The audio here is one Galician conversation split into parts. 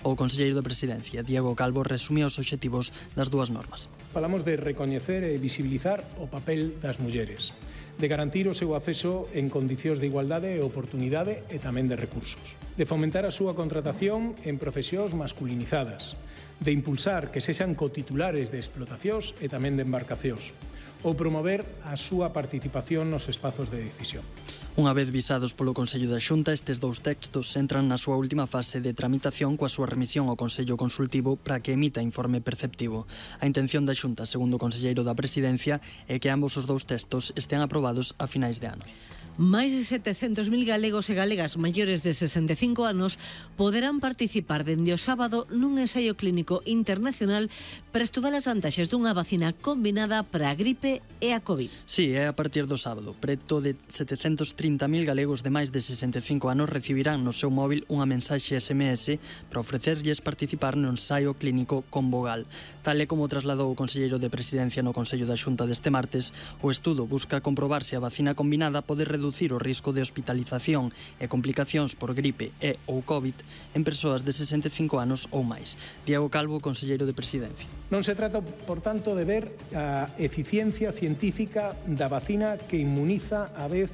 O conselleiro da Presidencia, Diego Calvo, resumiu os obxectivos das dúas normas. Falamos de recoñecer e visibilizar o papel das mulleres, de garantir o seu acceso en condicións de igualdade e oportunidade e tamén de recursos, de fomentar a súa contratación en profesións masculinizadas, de impulsar que sexan cotitulares de explotacións e tamén de embarcacións, ou promover a súa participación nos espazos de decisión. Unha vez visados polo Consello da Xunta, estes dous textos entran na súa última fase de tramitación coa súa remisión ao Consello Consultivo para que emita informe perceptivo. A intención da Xunta, segundo o conselleiro da Presidencia, é que ambos os dous textos estean aprobados a finais de ano. Máis de 700.000 galegos e galegas maiores de 65 anos poderán participar dende o sábado nun ensaio clínico internacional para estudar as vantaxes dunha vacina combinada para a gripe e a COVID. Sí, é a partir do sábado. Preto de 730.000 galegos de máis de 65 anos recibirán no seu móvil unha mensaxe SMS para ofrecerlles participar no ensaio clínico con Bogal. Tal e como trasladou o conselleiro de Presidencia no Consello da Xunta deste martes, o estudo busca comprobar se a vacina combinada pode reducir o risco de hospitalización e complicacións por gripe e ou COVID en persoas de 65 anos ou máis. Diego Calvo, conselleiro de Presidencia. Non se trata, por tanto, de ver a eficiencia científica da vacina que inmuniza a vez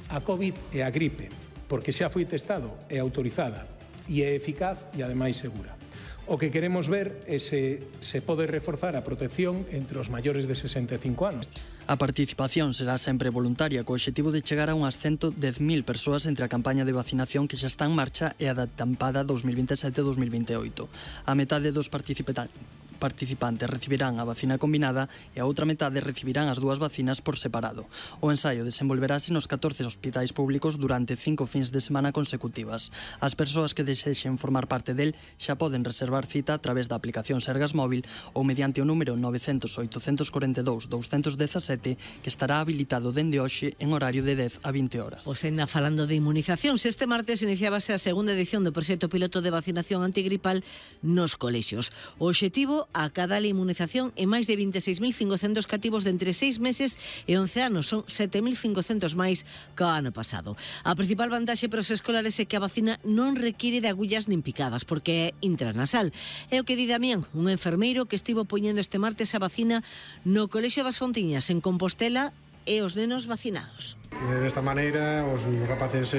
a COVID e a gripe, porque xa foi testado e autorizada e é eficaz e ademais segura. O que queremos ver é se pode reforzar a protección entre os maiores de 65 anos. A participación será sempre voluntaria, co obxectivo de chegar a unhas 110.000 persoas entre a campaña de vacinación que xa está en marcha e a da tempada 2027-2028. A metade dos participantes recibirán a vacina combinada e a outra metade recibirán as dúas vacinas por separado. O ensaio desenvolverase nos 14 hospitais públicos durante 5 fins de semana consecutivas. As persoas que desexen formar parte del xa poden reservar cita a través da aplicación Sergas Móvil ou mediante o número 900-842-217 que estará habilitado dende hoxe en horario de 10 a 20 horas. Pois ainda falando de inmunizacións, este martes iniciábase a segunda edición do proxecto piloto de vacinación antigripal nos colexios. O obxectivo a cada inmunización e máis de 26.500 cativos de entre 6 meses e 11 anos, son 7.500 máis que o ano pasado. A principal vantaxe para os escolares é que a vacina non require de agullas nin picadas, porque é intranasal. É o que di Damián, un enfermeiro que estivo poñendo este martes a vacina no Colexio das Fontiñas, en Compostela, e os nenos vacinados. Desta maneira, os rapaces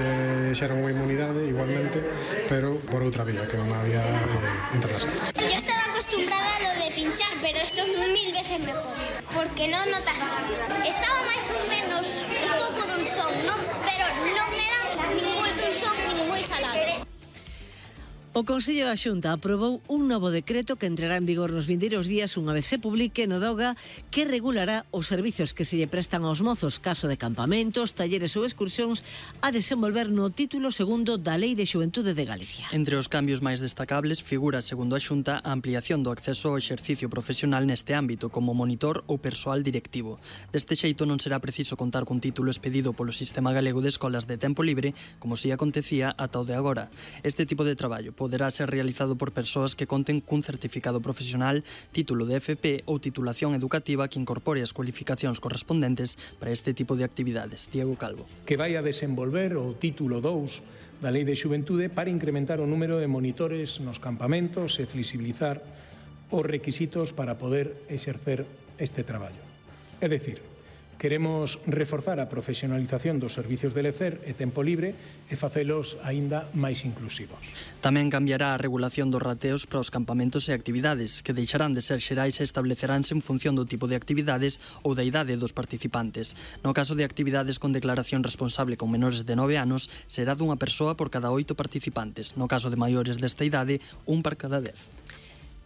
xeran unha inmunidade igualmente, pero por outra vía, que é unha vía internacional. Yo estaba acostumbrada a lo de pinchar, pero esto es 1000 veces mejor, porque no notas nada. Estaba máis ou menos un pouco dulzón, ¿no? Pero non era ningún dulzón nin moi salado. O Consello da Xunta aprobou un novo decreto que entrará en vigor nos vindeiros días unha vez se publique no DOGA, que regulará os servizos que se lle prestan aos mozos, caso de campamentos, talleres ou excursións, a desenvolver no título segundo da Lei de Xuventude de Galicia. Entre os cambios máis destacables figura, segundo a Xunta, a ampliación do acceso ao exercicio profesional neste ámbito como monitor ou persoal directivo. Deste xeito non será preciso contar cun título expedido polo Sistema Galego de Escolas de Tempo Libre, como si acontecía ata o de agora. Este tipo de traballo poderá ser realizado por persoas que conten cun certificado profesional, título de FP ou titulación educativa que incorpore as cualificacións correspondentes para este tipo de actividades. Diego Calvo. Que vai a desenvolver o título 2 da Lei de Xuventude para incrementar o número de monitores nos campamentos e flexibilizar os requisitos para poder exercer este traballo. É dicir, queremos reforzar a profesionalización dos servicios de lecer e tempo libre e facelos aínda máis inclusivos. Tamén cambiará a regulación dos rateos para os campamentos e actividades, que deixarán de ser xerais e estableceránse en función do tipo de actividades ou da idade dos participantes. No caso de actividades con declaración responsable con menores de 9 anos, será dunha persoa por cada 8 participantes. No caso de maiores desta idade, un por cada 10.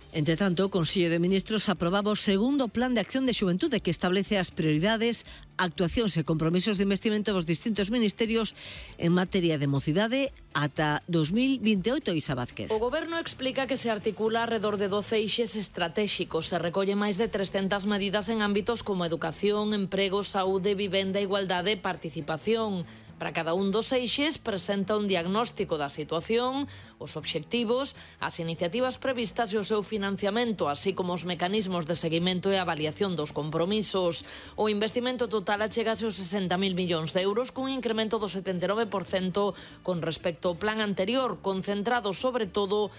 Entre tanto, o Consello de Ministros aprobaba o segundo Plan de Acción de Xuventude que establece as prioridades, actuacións e compromisos de investimento dos distintos ministerios en materia de mocidade ata 2028, Isa Vázquez. O Goberno explica que se articula alrededor de 12 eixes estratégicos. Se recolle máis de 300 medidas en ámbitos como educación, emprego, saúde, vivenda, igualdade e participación. Para cada un dos eixes presenta un diagnóstico da situación, os obxectivos, as iniciativas previstas e o seu financiamento, así como os mecanismos de seguimento e avaliación dos compromisos. O investimento total achegase aos 60.000 millóns de euros, cun incremento do 79% con respecto ao plan anterior, concentrado sobre todo